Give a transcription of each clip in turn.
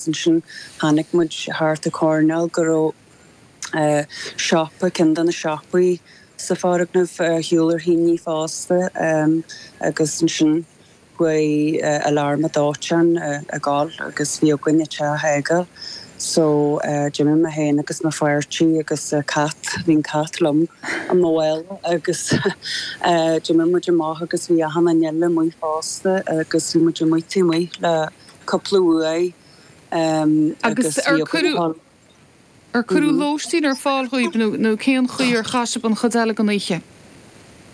Ansin tháinig muid thart an choirnéal go raibh siopa, ceann de na siopaí sa foirgneamh ar shiúl ar thine fosta agus ansin chuaigh alarm dóiteáin ag gabháil agus bhí againn an teach a fhágáil. So d'imigh mé féin agus mo pháirtí agus cat, bhí an cat liom i mo mhála agus d'imigh muid amach agus bhí achan duine eile amuigh fosta agus bhí muid amuigh taobh amuigh le cúpla uair agus bhí againn. Ar cuireadh lóistín ar fáil dhaoibh nó nó cén chaoi ar chaith sibh an chuid eile den oíche?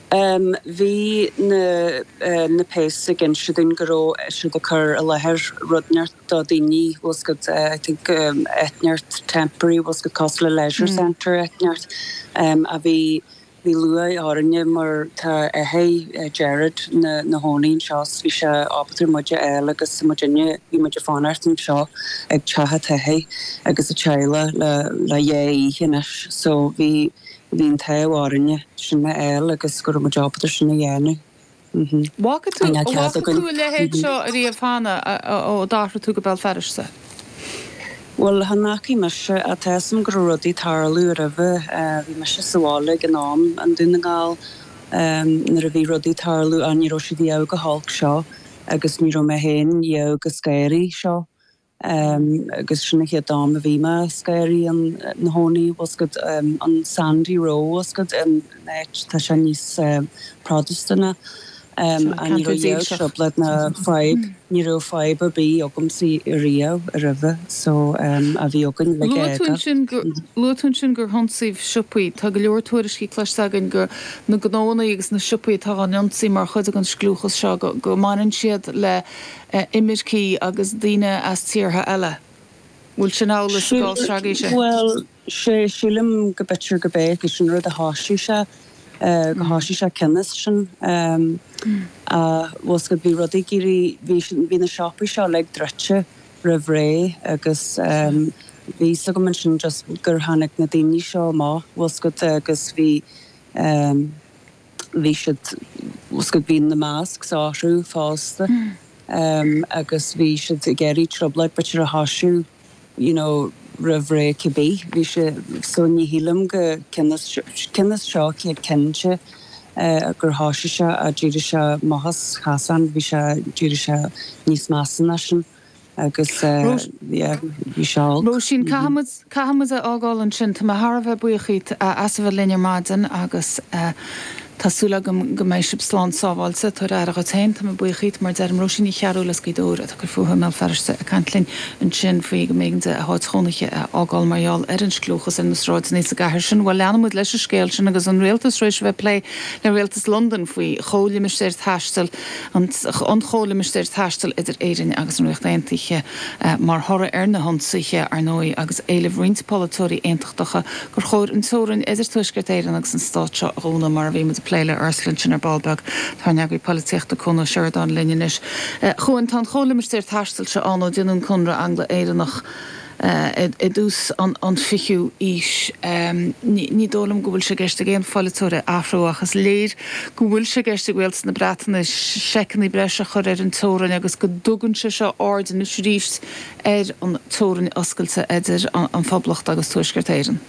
Bhí na na péas ag inse dúinn go raibh siad ag cur i láthair rud inteacht do daoine, bhfuil 's agat, I think áit inteacht temporary, bhfuil 's agat, cosúil le leisure centre áit inteacht a bhí Bhí lúcháir orainne mar tá athair Gerard 'na chónaí anseo 's bhí sé ábalta muid a fháil agus muidinne, bhí muid ag fanacht anseo ag teach an t-athair agus a teaghlach le le dhá oíche anois so bhí bhí an t-ádh orainne sin a fháil agus go raibh muid ábalta sin a dhéanamh. Bhfaca tú, an bhfaca tú a leithéid seo ariamh cheana ó d'athraigh tú go Béal Feirste? Bhuel, chan fhacaigh mise, ach tá 'fhios a'm go raibh rudaí ag tarlú roimhe. Bhí mise sa bhaile ag an am i nDún na nGall nuair a bhí rudaí ag tarlú ach ní raibh siad riamh chomh holc seo agus ní raibh mé féin riamh chomh scary seo. Agus sin an chéad am a bhí mé scary 'na chónaí, bhfuil 's agat, an Sandy Row, bhfuil 's agat, an áit, tá sé níos Protastúnaí. Ach ní raibh riamh trioblóid ná fadhb, ní raibh fadhb ar bith agamsa riamh roimhe so a bhí againn le Luaigh tú ansin gur, luaigh tú ansin gur hionsaíodh siopaí. Tá go leor tuairiscí cloiste againn gur na gnóanna agus na siopaí atá á n-ionsaí mar chuid den scliúchas seo, go, go mbaineann siad le imircigh agus daoine as tíortha eile. Bhfuil sin amhlaidh sa gcás seo agaibhse? Bhuel, sé, sílim go b'fhéidir go b'é go sin rud a thoisigh sé, go thoisigh sé cionn is sin. Ach, bhfuil 's agat, bhí rudaí ag éirí, bhí, bhí na siopaí seo uilig druidte roimh ré agus bhí 'fhios agam ansin just gur tháinig na daoine seo amach, bhfuil 's agat, agus bhí, bhí siad, bhfuil 's agat, bhí na masks orthu fosta agus bhí siad ag iarraidh trioblóid b'fhéidir a thoisiú you know roimh ré cibé, bhí sé, so ní shílim go cionn is, cionn is seo céad cinnte gur thoisigh sé ach d'éirigh sé amach as chasán, bhí sé, d'éirigh sé níos measa ná sin. Agus yeah, bhí sé olc. Róisín, caithfidh muid, caithfidh muid a fhágáil ansin. Tá mé thar a bheith buíoch dhíot as a bheith linn ar maidin agus tá súil agam go mbeidh sibh slán sábháilte. Tabhair aire dhuit féin. Tá mé buíoch dhíot, mar a deirim. Róisín Ní Chearúil as Gaoth Dobhair atá ag cur fúithi i mBéal Feirste ag caint linn ansin faoi go mb'éigean di a háit chónaithe a fhágáil mar gheall ar an scliúchas ar na sráideanna sa gcathair sin. Bhuel, leanfaidh muid leis an scéal sin agus an rialtas tar éis a bheith ag plé le rialtas Londain faoi chomhlimistéir taistil an Chomhlimistéir Taistil idir Éirinn agus an Ríocht Aontaithe mar thoradh ar na hionsaithe, ar ndóigh, agus éileamh roinnt polaiteoirí aontachtacha gur chóir an teorainn idir Tuaisceart Éireann agus an stát seo a dhúnadh, mar a bhí muid ag plé le Ursula ansin ar ball beag. Tá ár n-eagraí polaitíochta Cuan Ó Seireadáin linn anois. A Chuain, tá an Chomhlimistéar Taistil seo ann ó déanadh an Conradh Angla-Éireannach. i dtús an fichiú aois. Ní dóigh liom go bhfuil sé i gceist ag aon pholaiteoir é a athrú ach is léir go bhfuil sé i gceist ag rialtas na Breataine seiceanna breise a chur ar an teorainn agus go dtugann sé seo aird anois arís ar an teorainn oscailte idir an Phoblacht agus Tuaisceart Éireann.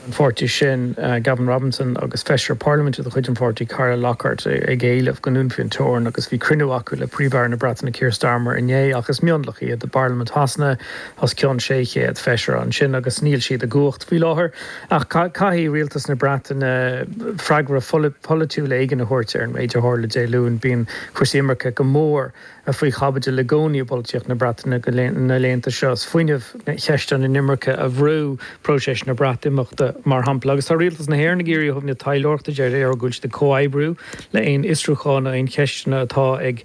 an pháirtí sin, Gavin Robinson, agus Feisire Parlaiminte de chuid an pháirtí, Carla Lockhart, ag éileamh go ndúnfaí an teorainn agus bhí cruinniú acu le Príomh-Aire na Breataine Keir Starmer inné ach is mionlach iad i bParlaimint Shasana, os cionn 600 feisire ansin agus níl siad i gcumhacht faoi láthair. Ach caithfidh rialtas na Breataine freagra polaitiúil éigin a thabhairt ar an méid a tharla Dé Luain. Bíonn cúrsaí imirce go mór faoi chaibidil i gcónaí i bpolaitíocht na Breataine na laethanta seo. Is fuinneamh cheist an inimirce a bhrú próiseas na Breatimeachta, mar shampla. Agus tá rialtas na hÉireann ag iarraidh ó thaobh na taidhleoireachta de, deir go bhfuil siad ag comhoibriú le aon fhiosrúcháin nó aon cheisteanna atá ag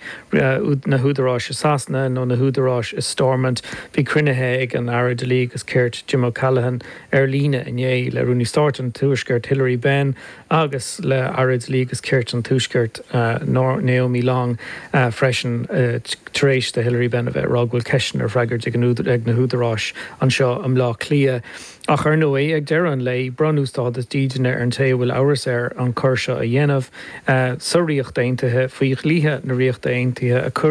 na húdaráis i Sasana nó na húdaráis i Stormont. Bhí cruinnithe ag an Aire Dlí agus Cirt, Jim O'Callaghan, ar líne inné le Rúnaí Stáit an Tuaiscirt, Hilary Benn, agus le Aire Dlí agus Cirt an Tuaiscirt, Naomi Long, freisin. tar éis do Hilary Benn a bheith ag rá go bhfuil ceisteanna ar freagairt ag na húdaráis anseo i mBleá Cliath. Ach ar ndóigh, ag deireadh an lae, bronnadh stádas dídine ar an té a bhfuil amhras air an coir seo a dhéanamh. Sa Ríocht Aontaithe, faoi dhlíthe na Ríochta Aontaithe a cuireadh.